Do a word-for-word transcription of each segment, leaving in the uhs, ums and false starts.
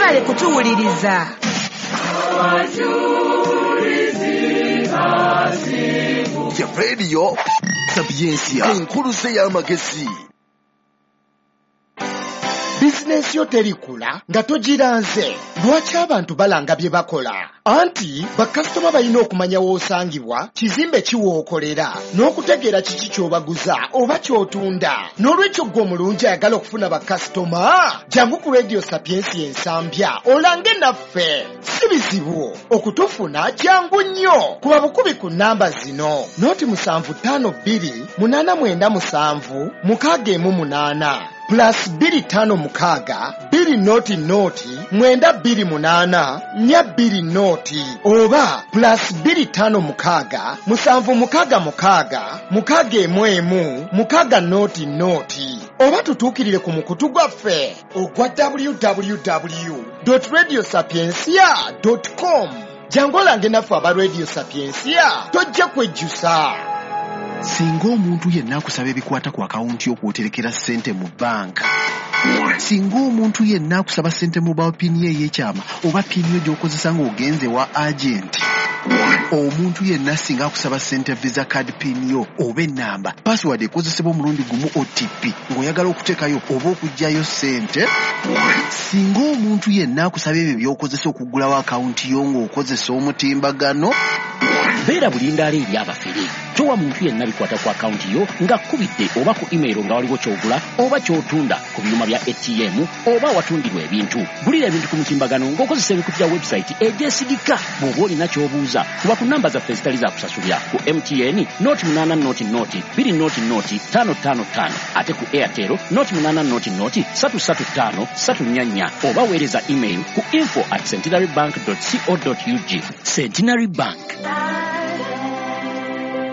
Mwebale kutuwuliriza. Ya Radio Sapientia, enkuluze y'amagezi. Bizinensi yo terikula nga togiranze. Lwaki abantu balanga bye bakola? Anti bakasitoma balina okumanya w'osangibwa, kizimbe ki w'okolera, n'okutegeera kiki ky'obaguza oba ky'otunda. N'olwekyo ggwe omulungi ayagala okufuna bakasitoma, jangu ku Radio Sapientia Ensambya olange naffe. Si bizibu okutufuna, jangu nnyo. Kuba bukubi ku nnamba zino: noti musanvu ttaano bbiri munaana mwenda musanvu mukaaga emu munaana, plus bbiri ttaano mukaaga bbiri noti noti mwenda bbiri munaana nnya bbiri noti, oba plus bbiri ttaano mukaaga musanvu mukaaga mukaaga mukaaga emu emu mukaaga noti noti, oba tutuukirire ku mukutu gwaffe ogwa w w w radio sapiencia com. Jangu olange naffe aba Radio Sapiencia, tojja kwejjusa. Singa omuntu yenna akusaba ebikwata ku akawunti y'okwoterekera ssente mu banka, singa omuntu yenna akusaba ssente mobile PIN ye ey'ekyama oba PIN yo gy'okozesa ng'ogenze wa agenti, omuntu yenna singa akusaba ssente Visa card PIN yo oba ennamba password ekozesebwa omulundi gumu O T P ng'oyagala okuteekayo oba okuggyayo ssente, singa omuntu yenna akusaba ebyo by'okozesa okuggulawo akawunti yo ng'okozesa omutimbagano, Beera bulindaala eri abafere. Towa muntu yenna bikwata ku akawunti yo ng'akkubidde oba ku email nga waliwo ky'ogula oba ky'otunda ku byuma bya A T M oba awatundirwa ebintu. Gulira ebintu ku mutimbagano ng'okozesa emikutu gya website egyesigika. Bw'oba olina ky'obuuza, kuba ku namba zaffe ezitali za kusasulira: ku M T N noti munaana noti noti bbiri noti noti ttaano ttaano ttaano, ate ku Airtel noti munaana noti noti ssatu ssatu ttaano ssatu nnya nnya, oba weereza email ku info at centenary bank co ug. Centenary Bank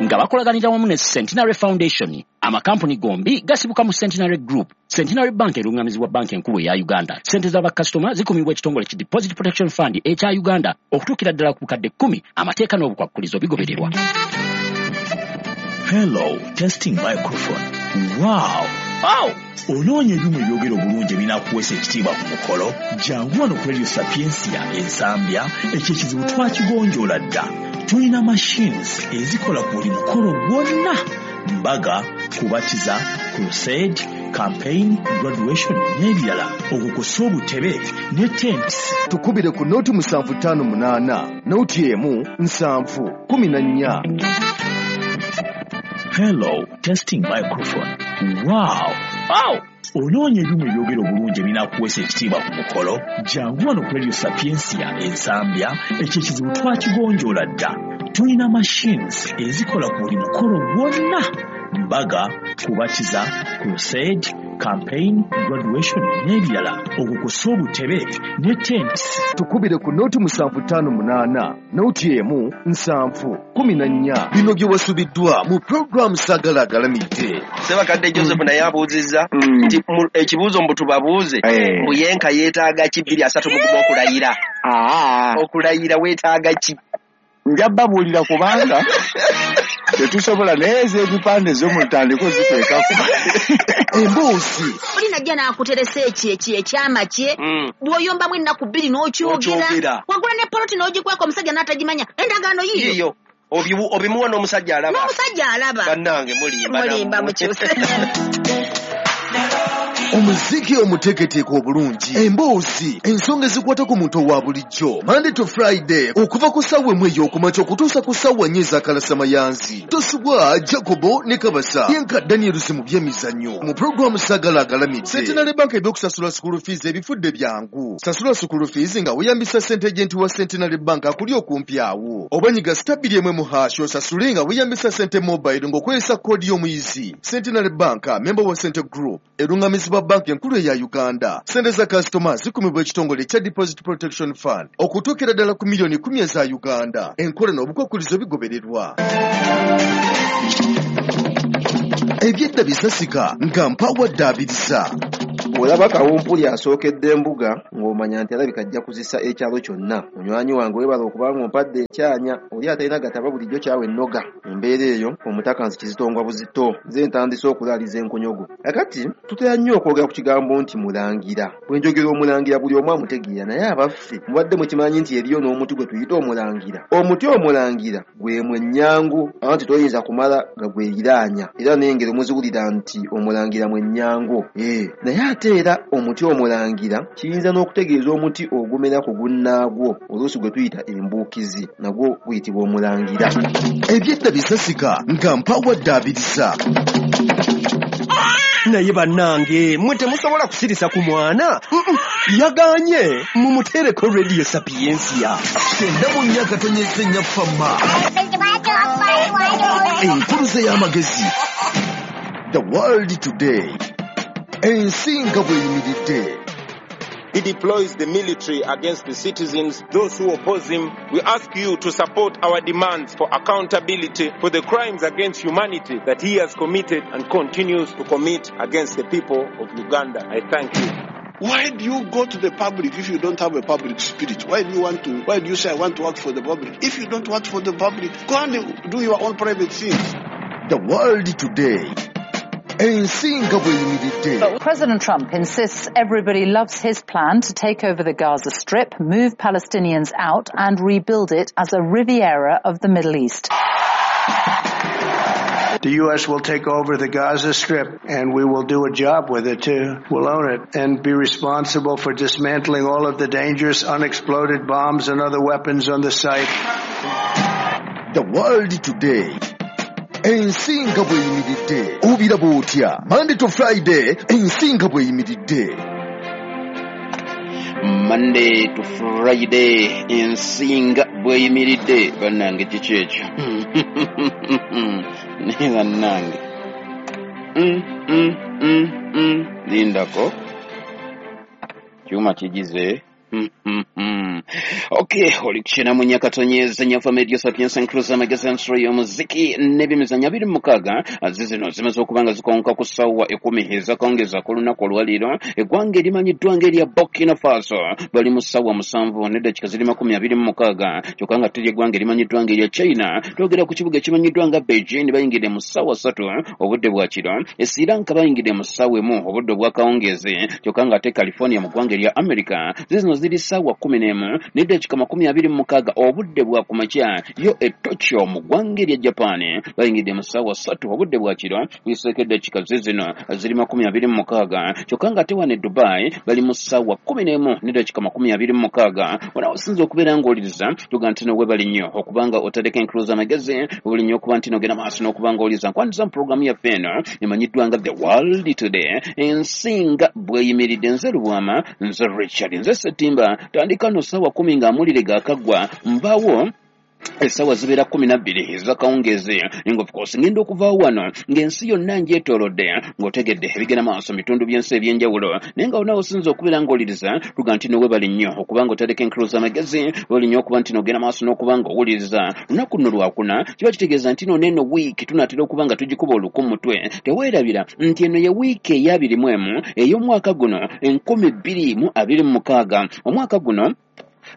nga bakolaganira wamu ne Centenary Foundation. Amakampuni gombi gasibuka mu Centenary Group. Centenary Bank erungamizibwa Banka Enkulu eya Uganda. Sente z'abakasitoma zikumibwa ekitongole ki Deposit Protection Fund ekya Uganda okutuukira ddala ku bukadde kkumi. Amateeka n'obukwakkulizo bigobererwa. Hello, testing microphone. Wow! Wow! Onoonya ebyuma ebyogera obulungi ebinaakuweesa ekitiibwa ku mukolo? Jangu wano ku Radio Sapiencia Ensambya, ekyo ekizibu twakigonjoola dda. Tulina machines ezikola ku buli mukolo gwonna: mbaga, kubatiza, crusade, campaign, graduation n'ebirala, okwo kw'ossa obutebe ne tents. Tukubire ku noti musanvu ttaano munaana noti emu nsanvu kumi na nnya. Hello, testing microphone. Wow! Wow! Onoonya ebyuma ebyogera obulungi ebinaakuweesa ekitiibwa ku mukolo? Jangu wano ku Radio Sapiencia Ensambya, ekyo ekizibu twakigonjoola dda. Tulina machines ezikola ku buli mukolo gwonna: mbaga, kubatiza, crusade, campaign, graduation n'ebirala, okwo kw'ossa obutebe ne tents. Tukubire ku noti musanvu ttaano munaana noti emu nsanvu kumi na nnya. Bino bye wasubiddwa mu puroguramu Saagala Agalamidde. Sebakadde Joseph naye abuuzizza nti mu- ekibuuzo mbu tubabuuze, Eh. mbu yenka yeetaaga ki bbiri asatu mu gumu okulayira? Aa, Okulayira weetaaga ki? Nja babuulira kubanga tetusobola, naye ez'ebipande zo mutandike oziteekako. Emboozi. Oli najja n'akuteresa ekyo ekyo ekyama kye, Mm. bw'oyombamu ennaku bbiri n'okyogera. N'okyogera. Wagula ne poloti n'ogikweka omusajja n'atagimanya, endagaano yiyo. Yiyo. Obimu- obimuwa n'omusajja alaba. N'omusajja alaba. Bannange, mulimba. Mulimba. Nammwe. Mukyuse. Omuziki omuteeketeeke obulungi, emboozi, ensonga ezikwata ku muntu owa bulijjo, Monday to Friday okuva ku ssaawa emu ey'okumakya okutuusa ku ssaawa nnya ez'akalasamayanzi. Tosubwa Jacobo ne Kabasa yenka Daniels mu byemizannyo mu puroguramu Saagala Agalamidde. Centenary Bank ebyokusasula school fees ebifudde byangu. Sasula school fees nga weeyambisa sente agent wa Centenary Bank akuli okumpi awo, oba nyiga star bbiri emu emu hash osasule nga weeyambisa sente mobile ng'okozesa koodi y'omuyizi. Centenary Bank, member wa Sente Group, erungamizibwa Banka Enkulu eya Uganda. Sente za kasitoma zikumibwa ekitongole ekya Deposit Protection Fund okutuukira ddala ku miliyoni kumi eza Uganda. Enkola n'obukwakkulizo bigobererwa. Ebyedda bisasika nga mpawadde abiriza. Bw'olaba kawumpuli asookedde embuga ng'omanya nti alabika ajja kuzisa ekyalo kyonna. Munywanyi wange weebala okubanga ompadde ekyanya, oli atalina gataba bulijjo kyawe ennoga. Embeera eyo omutaka nsi kizitongwa buzito, nze ntandise okulaaliza enkonyogo. Kakati tutera nnyo okwogera ku kigambo nti mulangira. Bwe njogera omulangira buli omu amutegeera, naye abaffe mubadde mukimanyi nti eriyo n'omuti gwe tuyita omulangira. Omuti omulangira gwe mwennyango, anti toyinza kumala gagweriraanya, era n'engero muziwulira nti omulangira mwennyango. Eh, naye ate era omuti omulangira kiyinza n'okutegeeza omuti ogumera ku gunnaagwo, oluusi gwe tuyita embuukizi, nagwo guyitibwa omulangira. Ebyedda bisasika nga mpawadde abirisa. Naye bannange mmwe temusobola kusirisa ku mwana. Yagaanye mumuteereko Radio Sapientia. Kyenda mu nnya akatonyeze nnya fama. Enkuluze y'amagezi. The World Today. Ensi nga bw'eyimiridde. He deploys the military against the citizens, those who oppose him. We ask you to support our demands for accountability for the crimes against humanity that he has committed and continues to commit against the people of Uganda. I thank you. Why do you go to the public if you don't have a public spirit? Why do you want to, why do you say I want to work for the public? If you don't work for the public, go and do your own private things. The World Today. President Trump insists everybody loves his plan to take over the Gaza Strip, move Palestinians out and rebuild it as a Riviera of the Middle East. The U S will take over the Gaza Strip, and we will do a job with it, too. We'll own it and be responsible for dismantling all of the dangerous unexploded bombs and other weapons on the site. The World Today. Ensi nga bw'eyimiridde. Obiraba otya? Monday to Friday, ensi nga bw'eyimiridde. Monday to Friday, ensi nga bw'eyimiridde. Bannange kiki ekyo? Naye bannange. Mm, mm, mm, mm. Lindako. Kyuma kigize. Okay, oli kukyena mu Nyakatonyeza Nyafa Radio Sapientia Inclusive Magazine Show y'omuziki n'ebyemizannyo abiri mu mukaaga zizino zimaze okuba nga zikonka ku ssaawa ekkumi ezakawungeezi ku lunaku olwaleero. Eggwanga erimanyiddwa ng'erya Burkina Faso bali mu ssaawa musanvu n'eddakiika ziri makumi abiri mu mukaaga, kyokka nga teri eggwanga erimanyiddwa ng'erya China. Twogera ku kibuga ekimanyiddwa nga Beijing bayingidde mu ssaawa ssatu obudde bwa kiro. E Sri Lanka bayingidde mu ssaawa emu obudde obwakawungeezi, kyokka nga ate California mu ggwanga erya America zizino ziri ssaawa kkumi n'emu n'eddakiika makumi abiri mu mukaaga obudde bwa kumakya. Yo e Tokyo mu ggwanga erya Japan bayingidde mu ssaawa ssatu obudde bwa kiro, biseeko eddakiika zizino ziri makumi abiri mu mukaaga, kyokka nga ate wano e Dubai bali mu ssaawa kkumi n'emu n'eddakiika makumi abiri mu mukaaga. Wano osinza okubeera ng'owuliriza tuga nti no weebale nnyo okubanga otadeko enkuluza amagezi, webale nnyo okuba nti n'ogenda maaso n'okuba ng'owuliriza. Nkwaniriza mu pulogulaamu yaffe eno emanyiddwa nga The World Today, ensi nga bw'eyimiridde. Nze Lubwama, nze Richard, nze Ssetimba. Tandika no ssaawa kkumi ng'amulire gaakaggwa mbaawo essaawa zibeera kkumi na bbiri ez'akawungeezi. Nga of course ngenda okuvaawo wano ng'ensi yonna ngyetoolodde ng'otegedde ebigenda maaso mu bitundu by'ensi eby'enjawulo, naye nga wonna osinza okubeera ng'owuliriza tuga nti no weebale nnyo okuba nga otadeko enkuluza amagezi, weebale nnyo okuba nti n'ogenda maaso n'okuba ng'owuliriza. Lunaku luno lwakuna kiba kitegeeza nti no n'eno wiiki tunaatera okuba nga tugikuba oluku mu mutwe. Teweerabira nti eno ye wiiki ey'abiri mu emu ey'omwaka guno enkumi bbiri mu abiri mu mukaaga. Omwaka guno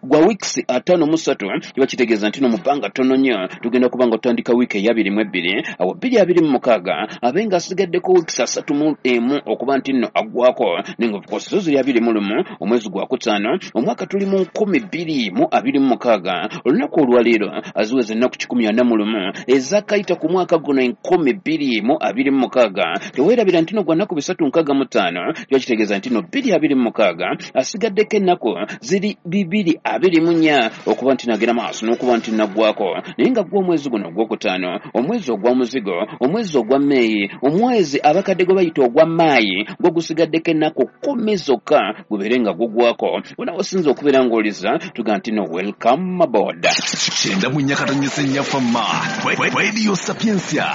gwa weeks ataano mu ssatu, kiba kitegeeza nti no mu bbanga ttono nnyo tugenda kuba nga tutandika wiiki ey'abiri mu ebbiri, awo bbiri abiri mu mukaaga abe nga asigaddeko weeks asatu mu emu okuba nti nno aggwako. Naye nga of course zo ziri abiri mu lumu omwezi gwa kutaano omwaka tuli mu nkumi bbiri mu abiri mu mukaaga. Olunaku olwaleero aziweza ennaku kikumi ana mu lumu ezakayita ku mwaka guno enkumi bbiri mu abiri mu mukaaga. Teweerabira nti no gwa nnaku bisatu nkaaga mu ttaano, kiba kitegeeza nti no bbiri abiri mu mukaaga asigaddeko ennaku ziri bibiri abiri mu nnya okuba nti nagenda maaso n'okuba nti naggwako. Naye nga gwo omwezi guno ogwokutaano, omwezi ogwa muzigo, omwezi ogwa Meeyi, omwezi abakadde gwe bayita ogwa Maayi, gwo gusigaddeko ennaku kkumi zokka gubeere nga gugwako. Wona osinza okubeera ng'oliza tuga nti no welcome aboard. Kyenda mu nnya katonyeze nnya fama. Radio Sapientia,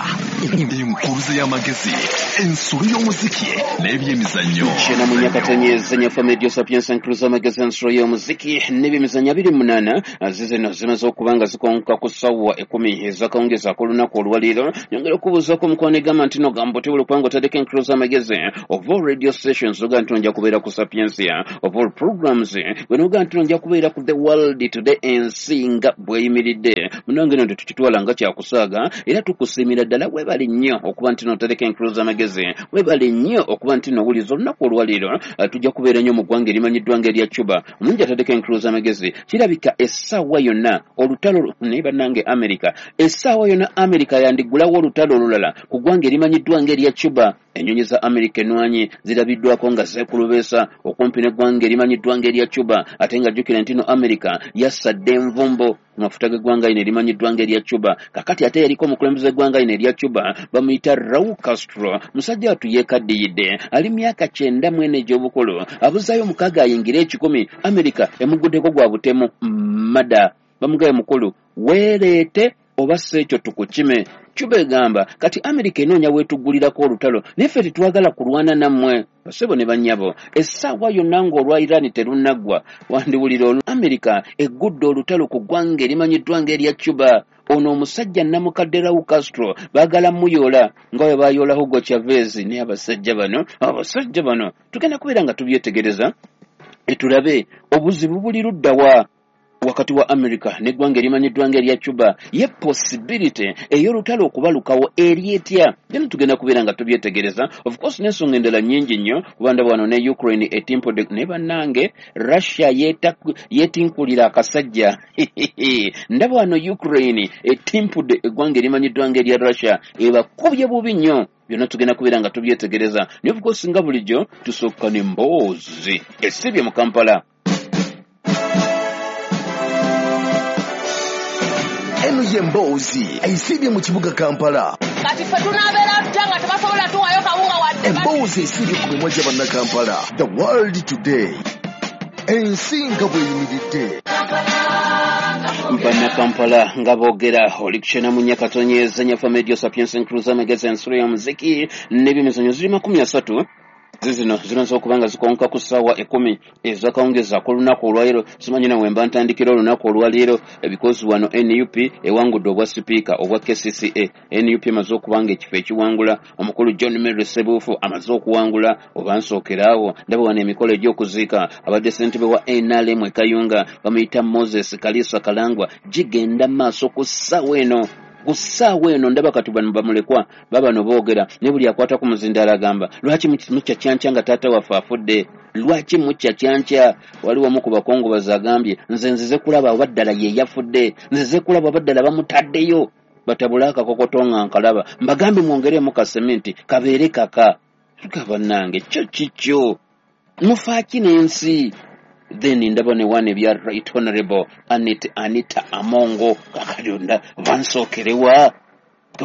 enkuluze y'amagezi, ensulu y'omuziki n'ebyemizannyo. Kyenda mu nnya katonyeze nnya fama, Radio Sapientia, enkuluze y'amagezi, ensulu y'omuziki n'ebyemizannyo abiri munaana zizino zimaze okuba nga zikonka ku ssaawa ekkumi ez'akawungeezi ak'olunaku olwaleero. Nyongera okubuuzaako omukwano egamba nti no gamba otebula okuba nga otadeko enkulu z'amagezi of all radio stations, oga nti nja kubeera ku Sapientia, of all programs bwe noga nti nja kubeera ku The World Today, ensi nga bweyimiridde. Munange eno tetukitwala nga kyakusaaga, era tukusiimira ddala. Weebale nnyo okuba nti n'otereka enkulu z'amagezi, weebale nnyo okuba nti n'owuliza olunaku olwaleero. Tujja kubeera nnyo mu ggwanga erimanyiddwa ng'erya Cuba. Omungi atadeko enkulu z'amagezi, kirabika essaawa yonna olutalo naye bannange America, essaawa yonna America yandiggulawo olutalo olulala ku ggwanga erimanyiddwa ng'erya Cuba. Ennyonyi za America enwanyi zirabiddwako nga zeekulubeesa okumpi n'eggwanga erimanyiddwa ng'erya Cuba, ate nga jjukira nti no America yassadde envumbo ku mafuta g'eggwanga lino erimanyiddwa ng'erya Cuba. Kakati ate yaliko omukulembeze w'eggwanga lino erya Cuba bamuyita Raul Castro, musajja wattu yeekaddiyidde, ali myaka kyenda mu ena egy'obukulu, abuzaayo mukaaga ayingire ekikumi. America emuguddeko gwa butemu mada, bamugaye mukulu weereete oba si ekyo tukukime. Cuba egamba kati America enoonya weetuggulirako olutalo, naye ffe tetwagala kulwana nammwe basebo ne bannyabo. Essaawa yonna ng'olwa Iran terunnaggwa, wandiwulira olu America eggudde olutalo ku ggwanga erimanyiddwa ng'erya Cuba. Ono omusajja namukadde Raul Castro baagala muyoola nga bwe baayoola Hugo Chavez. Naye abasajja bano abasajja bano tugenda kubeera nga tubyetegereza tulabe obuzibu buli ludda wa wakati wa America n'eggwanga erimanyiddwa ng'erya Cuba. Ye possibility ey'olutalo okubalukawo eri etya? Byonna tugenda kubeera nga tubyetegereza. Of course n'ensonga endala nnyingi nnyo, kuba ndaba wano ne Ukraine etimpudde, naye bannange Russia yeetinkulira akasajja. Ndaba wano Ukraine etimpudde eggwanga erimanyiddwa ng'erya Russia, ebakubye bubi nnyo. Byonna tugenda kubeera nga tubyetegereza. Naye of course nga bulijjo tusooka n'emboozi esibye mu Kampala. Eno ye mboozi esibye mu kibuga Kampala. Kati ffe tunaabeera tutya nga tebasobola tuwaayo kawunga wadde? Emboozi esibye ku mimwa gya bannakampala. The World Today, ensi nga bweyimiridde. Bannakampala nga boogera oli kukyena mu Nyakatonyeza Nyafa Media Sapiens Encruiser Magazine ensulo ya muziki n'ebyemizannyo ziri makumi asatu zizino zimaze okuba nga zikonka ku ssaawa ekkumi ez'akawungeezi ak'olunaku olwaleero. Simanyi nawe mba ntandikira olunaku olwaleero because wano N U P ewangudde obwa sipiika obwa K C C A. N U P emaze okuba nga ekifo ekiwangula, omukulu John Mary Sebuufu amaze okuwangula. Oba nsookeraawo ndaba wano emikolo egy'okuziika abadde ssentebe wa N R M e Kayunga bamuyita Moses Kalisa Kalangwa gigenda maaso ku ssaawa eno. Ku ssaawa eno ndaba kati bano bamulekwa babano boogera, ne buli akwata ku muzindaalo agamba lwaki mukya kyankya nga taata waffe afudde, lwaki mukya kyankya. Waliwo omu ku bakongobazi agambye nze nzize kulaba oba ddala ye yafudde, nzize kulaba oba ddala bamutaddeyo. Batabule akakokoto nga nkalaba, mbagambe mwongeremu kaseminti kabeere kaka. Tuga bannange kyo kikyo mufaaki n'ensi. Then ndaba ne wane bya Right Honorable Anita, Anita Amongo kakadonda bansookerewa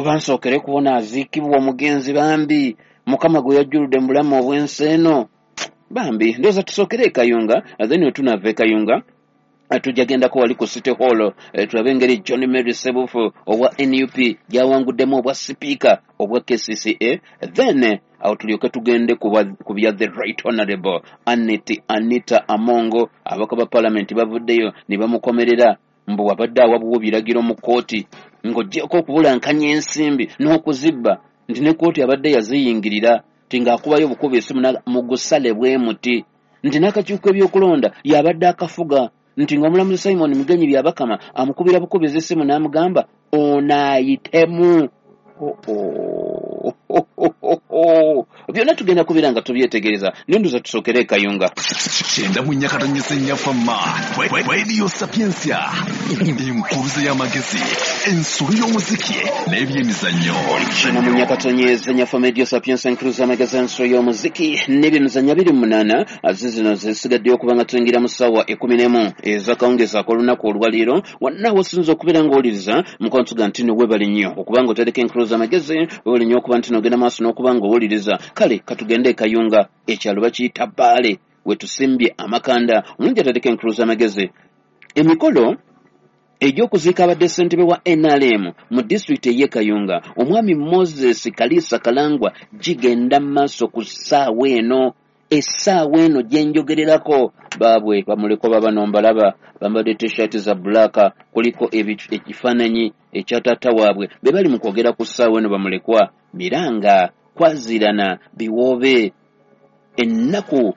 bansokere kubona aziikibwa omugenzi bambi Mukama gwe yajjuludde mu bulamu obw'ensi eno bambi. Ndowooza tusookere e Kayunga, then we tunaava e Kayunga tujja gendako wali ku City Hall tulabe engeri John Mary Sebuufu owa N U P gyawanguddemu obwa sipiika obwa K C C A, then awo tulyoke tugende ku bya the Right Honorable Anita, Anita Amongo. Ababaka ba Palamenti bavuddeyo ne bamukomerera mbu abadde awabuwa ebiragiro mu kkooti ng'oggyeko okubulankanya ensimbi n'okuzibba, nti ne kkooti abadde yaziyingirira ti ng'akubayo obukuba esimu mugusale bwe muti, nti n'akakiiko ebyokulonda y'abadde akafuga, nti ng'omulamuzi Simon Mugenyi Byabakama amukubira bukubizi essimu n'amugamba onaayitemu. Byonna tugenda kubeera nga tubyetegereza, naye ndowooza tusookere e Kayunga. Kyenda mu Nyakatonyeza Nyafa Radio Sapientia, enkuruze y'amagezi, ensulo y'omuziki n'ebyemizannyo. Kyenda mu Nyakatonyeza Nyafa Radio Sapientia, enkuruze y'amagezi, ensulo y'omuziki n'ebyemizannyo abiri mu munaana zizino zisigaddeyo okuba nga tuyingira mu ssaawa ekkumi n'emu ez'akawungeezi ak'olunaku olwaleero. Wonna wosinza okubeera ng'owuliriza mukwano nti no weebale nnyo okuba nga otereka enkuruze y'amagezi, weebale nnyo okuba nti n'ogenda maaso n'okuba ng'owuliriza. Kale katugende e Kayunga, ekyalo bakiyita Bbaale, we tusimbye amakanda. Omulungi atadeko enkulu z'amagezi. Emikolo egy'okuziika abadde ssentebe wa N R M mu disitulikiti ey'e Kayunga omwami Moses Kalisa Kalangwa gigenda maaso ku ssaawa eno. Essaawa eno gye njogererako baabwe bamulekwa babano mbalaba bambadde t-shirt za black, kuliko ekifaananyi ekya taata waabwe. Be bali mu kwogera ku ssaawa eno bamulekwa miranga kwazirana biwoobe. Ennaku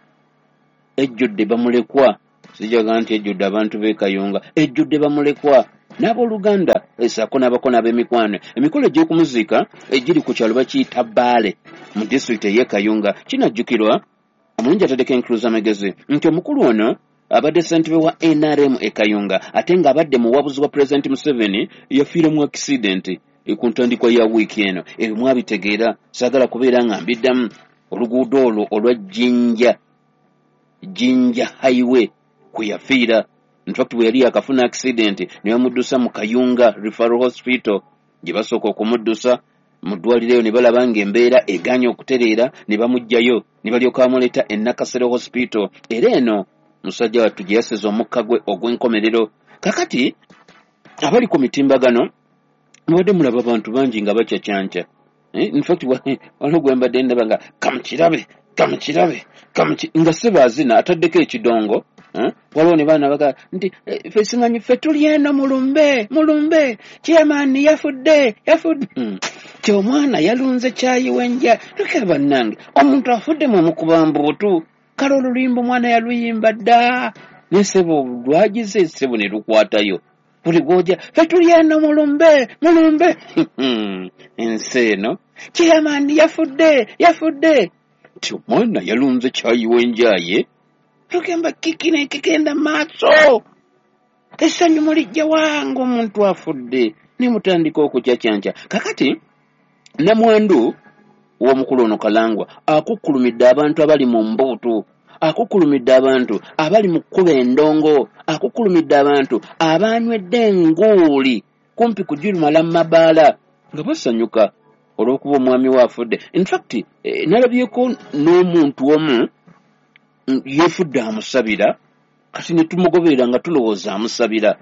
ejjudde bamulekwa, sijaga nti ejjudde abantu b'e Kayunga, ejjudde bamulekwa n'abooluganda esaako n'abako n'ab'emikwano. Emikolo egy'okumuziika egiri ku kyalo bakiyita Bbaale mu disitulikiti ey'e Kayunga. Kinajjukirwa omulungi ataddeko enkuluza amagezi nti omukulu ono abadde ssentebe wa N R M e Kayunga, ate ng'abadde muwabuzi wa Pulezidenti Museveni, yafiira mu accident ku ntandikwa ya wiiki eno. Ebyo mwabitegeera, saagala kubeera nga mbiddamu. Oluguudo olwo olwa Jinja Jinja Highway kwe yafiira. In fact bwe yali yakafuna accident ne bamuddusa mu Kayunga Referral Hospital, gye basooka okumuddusa mu ddwaliro eyo ne balaba ng'embeera egaanye okutereera ne bamuggyayo ne balyoka bamuleeta e Nakasero Hospital. Era eno musajja wattu gye yasiza omukka gwe ogw'enkomerero. Kakati abali ku mitimbagano mubadde mulaba abantu bangi nga bakyakyanca. In fact waliwo gwe mbadde ndaba nga kamukirabe kamukirabe kamuki nga sebaazina ataddeko ekidongo. Waliwo ne baana baga nti ffe simanyi ffe tuli eno mulumbe mulumbe chairman yafudde yafudde ti omwana yalunze kyayi w'enja. Leka bannange, omuntu afudde mwe mbuutu. Kale oluluyimba omwana yaluyimba dda ne ssebo lwagize ssebo ne lukwatayo buli gw'ojja ffe tuli eno mulumbe mulumbe. Ensi eno chairman yafudde yafudde ti omwana yalunze kyayi w'enjaye. Tugamba kiki nekigenda maaso, essanyu mulijja wange omuntu afudde ne mutandika okukyakyanca. Kakati namwandu w'omukulu ono Kalangwa akukkulumidde abantu abali mu mbuutu, akukkulumidde abantu abali mu kkuba endongo, akukkulumidde abantu abanywedde enguuli kumpi kugirumala mu mabaala nga basanyuka olw'okuba omwami we afudde. In fact eh, nalabyeko n'omuntu omu yefudde amusabira, kati ne tumugoberera nga tulowooza amusabira.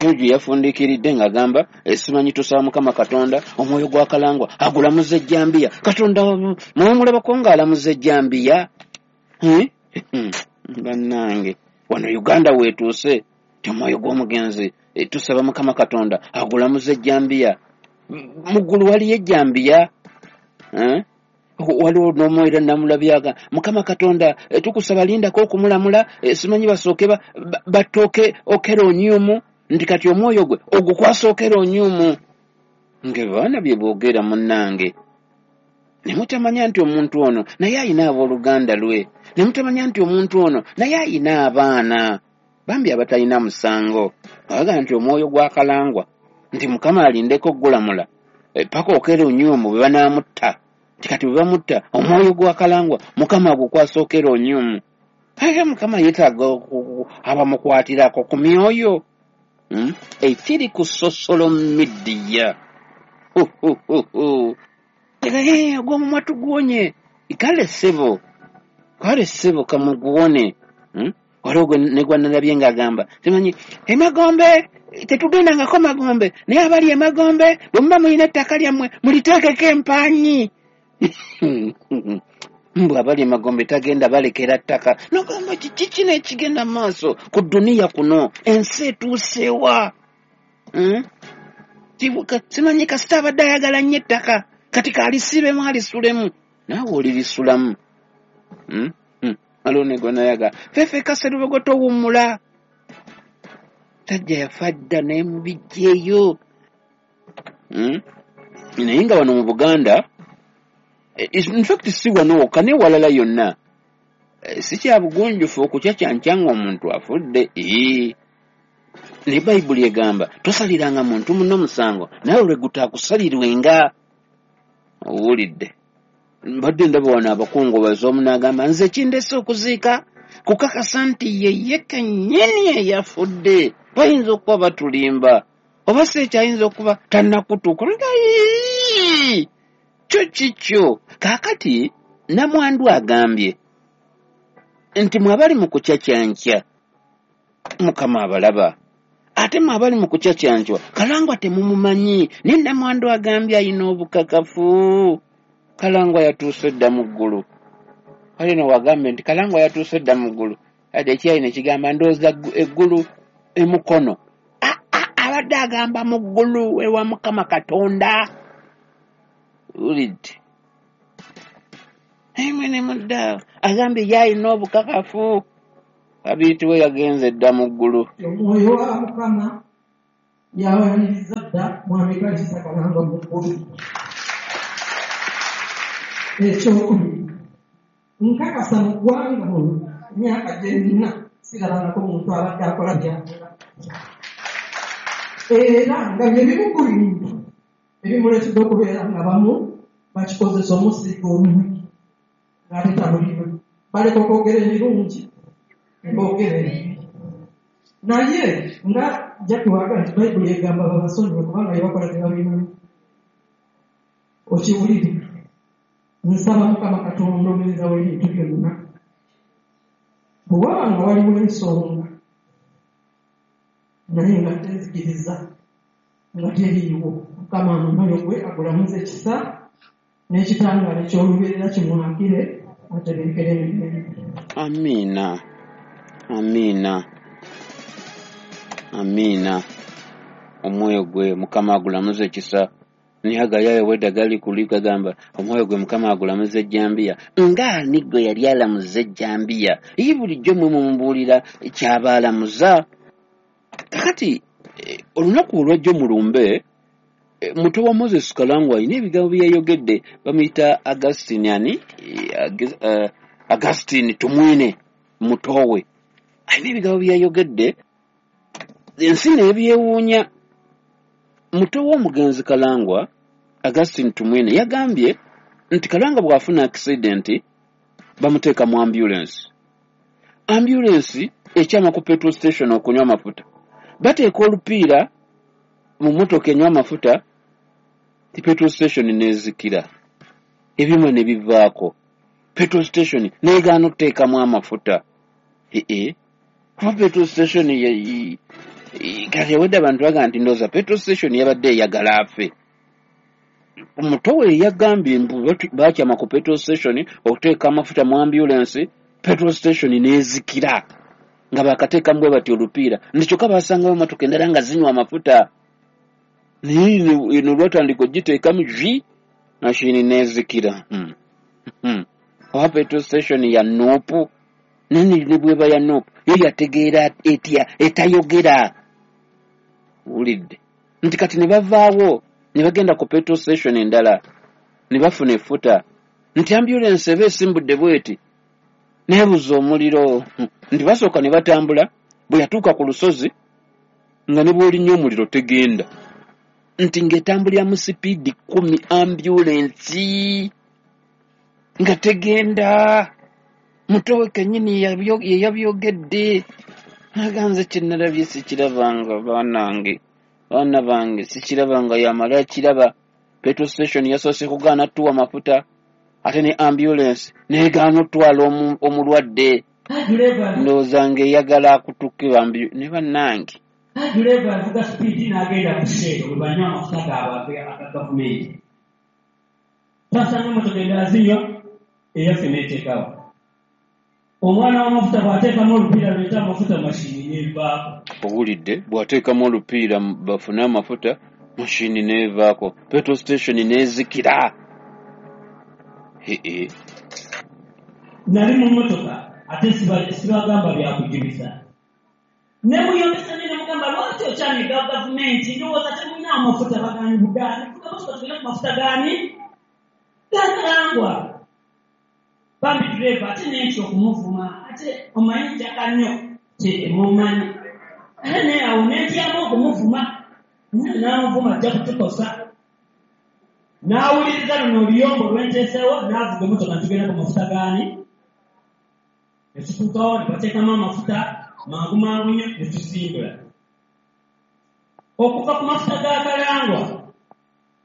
Eyo gye yafundiikiridde ng'agamba simanyi tusaba Mukama Katonda omwoyo gwa Kalangwa agulamuza ejjambiya. Katonda mwemulabako ng'alamuza ejjambiya? Bannange wano Uganda weetuuse ti omwoyo gw'omugenzi tusaba Mukama Katonda agulamuza ejjambiya. Mu ggulu waliyo ejjambiya? Waliwo n'omwoyo namulabyaga Mukama Katonda tukusaba lindako okumulamula simanyi basooke batooke okera onyumu nti kati omwoyo gwe ogukwasa okera onyumu. Nga baana bye boogera munnange ne mutamanya nti omuntu ono naye ayina abooluganda lwe, ne mutamanya nti omuntu ono naye ayina abaana bambi abatalina musango. Bagamba nti omwoyo gwa Kalangwa nti Mukama alindeko ogulamula paka okera onyumu bwe banaamutta. Kati bwe bamutta omwoyo gwa Kalangwa Mukama agukwasa okera onyumu. Aye Mukama yeetaaga abamukwatirako ku myoyo ekiri ku social media. Ogw'omumwa tuguwonye. Kale ssebo, kale ssebo kamuguwone. Waliwo ne gwa nalabye ng'agamba simanyi emagombe tetugendangako magombe, naye abali emagombe bwe muba mulina ettaka lyammwe muliteekeko empanyi. Mbu abali emagombe tagenda balekera ttaka. Nogamba kiki kino ekigenda mu maaso ku duniya kuno, ensi etuusewa? Simanyi kasita abadde ayagala nnyo ettaka kati kaalisibemu alisulemu, naawe olirisulamu. Waliwo ne gwe nayaga ffeffe Kaserubogo towummula, tajja yafa dda naye mubijjeeyo. Naye nga wano mu Buganda, in fact si wano wokka ne walala yonna, si kya bugunjufu okukyakyankya ng'omuntu afudde. Ne Bayibuli egamba tosaliranga muntu munno musango naye olwe gutaakusalirwenga. Owulidde? Mbadde ndaba wano abakungubazi omu n'agamba nze kindese okuziika kukakasa nti ye ye kennyini eyafudde. Bayinza okuba batulimba oba si ekyayinza okuba tannakutuuka. Kyo kikyo. Kaakati namwandu agambye nti mwe abali mu kukyakyankya Mukama abalaba, ate mwe abali mu kukyakyankywa Kalangwa temumumanyi. Naye namwandu agambye ayina obukakafu Kalangwa yatuuse dda mu ggulu. Kale no wagambe nti Kalangwa yatuuse dda mu ggulu, ate ekyayi ne kigamba ndowooza eggulu emukono. Abadde agamba mu ggulu ewa Mukama Katonda. Wulidde. Naye mwene mudda agambye ye alina obukakafu. Kabiiti we yagenze dda mu ggulu. Omwoyo wa Mukama yawaniriza dda Mwami Kalisa Kalangwa mu ggulu. Ekyokubiri, nkakasa mu ggwanga muno emyaka gye nnina sirabangako muntu abadde akola by'akola. Era nga bye bimu ku bintu ebimuleetedde okubeera nga bamu bakikozesa omusiiga omubi ng'ate tabuliwe. Baleka okwogera ebirungi ne boogera ebibi. Naye nga Jackie wagamba nti Bayibuli egamba babasonyiwe kubanga bye bakola tebabimanyi. Okiwulire. Nsaba Mukama Katonda omuyinza w'ebintu byonna. Bwe waba nga waliwo ensonga naye nga tenzikiriza nga teriiwo, Mukama omwoyo gwe agulamuze ekisa n'ekitangaala eky'olubeerera kimwakire atebenkere emirembe. Amiina, amiina, amiina. Omwoyo gwe Mukama agulamuze ekisa. Naye agayayo wedda gali kuli gagamba omwoyo gwe Mukama agulamuze ejjambiya. Ng'ani gwe yali alamuza ejjambiya? Ye bulijjo mmwe mumubuulira ky'aba alamuza. Kakati olunaku olwajjo mulumbe, muto wa Moses Kalangwa alina ebigambo bye yayogedde, bamuyita Augustine ani? Augustine Tumwine mutowe. Alina ebigambo bye yayogedde, ensi n'ebyewuunya. Muto w'omugenzi Kalangwa, Augustine Tumwine, yagambye nti Kalangwa bw'afuna accident bamuteeka mu ambulance. Ambulance ekyama ku petrol station okunywa amafuta. Bateeka olupiira mu mmotoka enywa amafuta, ti petrol station n'ezikira. Ebyuma ne bivaako. Petrol station n'egaana okuteekamu amafuta. Ee, kuba petrol station ye kati ewedde abantu bagamba nti ndowooza petrol station yabadde eyagala afe. Omuto we yagambye mbu bakyama ku petrol station okuteeka amafuta mu ambulance, petrol station n'ezikira. Nga bakateekamu bwe bati olupiira. Nti kyokka basangawo emmotoka endala nga zinywa amafuta. Naye eno lwatandika ogiteekamu jwi, mashini n'ezikira. Oba petrol station ya Nuupu, naye ne bw'eba ya Nuupu, yo yategeera etya etayogera. Wulidde. Nti kati ne bavaawo ne bagenda ku petrol station endala ne bafuna effuta. Nti ambulance eba esimbudde bw'eti neebuza omuliro. Nti basooka ne batambula, bwe yatuuka ku lusozi nga ne bw'olinnya omuliro tegenda. Nti ng'etambulira mu sipiidi kkumi ambulensi nga tegenda. Muto we kennyini ye yabyogedde. Naganze kye nalabye sikirabanga baanange, baana bange sikirabanga yamala akiraba. Petrol station yasoose kugaana tuwa mafuta, ate ne ambulance n'egaana otwala omulwadde. Ndowooza ng'eyagala akutukke bambi ne bannange. Ddereeva avuga sipiidi n'agenda ku Shell bwe banywa amafuta gaabwe aga gavumenti. Twasanga emmotoka endala zinywa, eyaffe n'eteekawo. Omwana w'amafuta bw'ateekamu olupiira lweta amafuta mashini n'evaako. Owulidde, bw'ateekamu olupiira bafune amafuta mashini n'evaako. Petrol station n'ezikira. Ee. Nali mu mmotoka ate sibagamba bya kujuliza. Ne muyombesa ne mugamba lwaki okyaniga gavumenti ndowooza temulina amafuta bagaani bugaani. Tuga motoka tugende ku mafuta gaani? Ga Kalangwa. Bambi ddereeva ate n'entya okumuvuma ate omanyi njaka nnyo temumanyi. Ate naye awo n'entyamu okumuvuma n'amuvuma ajja kutukosa. N'awuliriza luno oluyombo lwenteeseewo n'avuga emmotoka ntugenda ku mafuta gaani? Ne tutuukawo ne bateekamu amafuta mangu mangu nnyo ne tusimbula. Okuva ku mafuta ga Kalangwa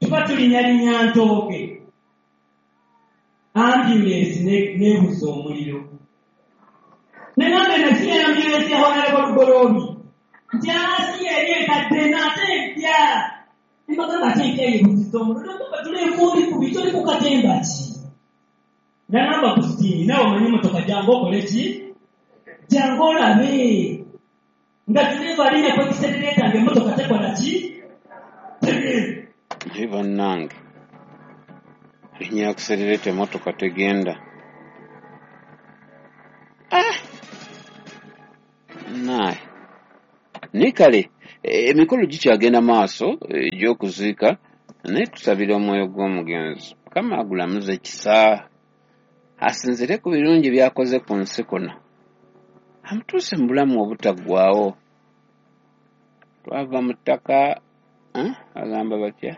tuba tulinnyalinya ntooke. Ambulance n'ebuza omuliro. Ne ngamba eno si ambulance ya Honorable Lugoloobi. Nti asi eri enkadde n'ate empya. Ne mbagamba ate empya yeebuzizza omuliro. Nagamba tuli enkumbi kubi, tuli ku katemba ki? Nagamba Agustini, naawe omanyi emmotoka jangu okole ki? Jangu olabe. Nga ddereeva alinnya ku accelerator ng'emmotoka tekola ki? Tegenda. Naye bannange, linnya accelerator emmotoka tegenda. Ah! Naye. Naye kale emikolo gikyagenda maaso egy'okuziika, naye tusabira omwoyo gw'omugenzi. Mukama agulamuze ekisa, asinziire ku birungi by'akoze ku nsi kuno, amutuuse mu bulamu obutaggwaawo. Twava mu ttaka, agamba batya?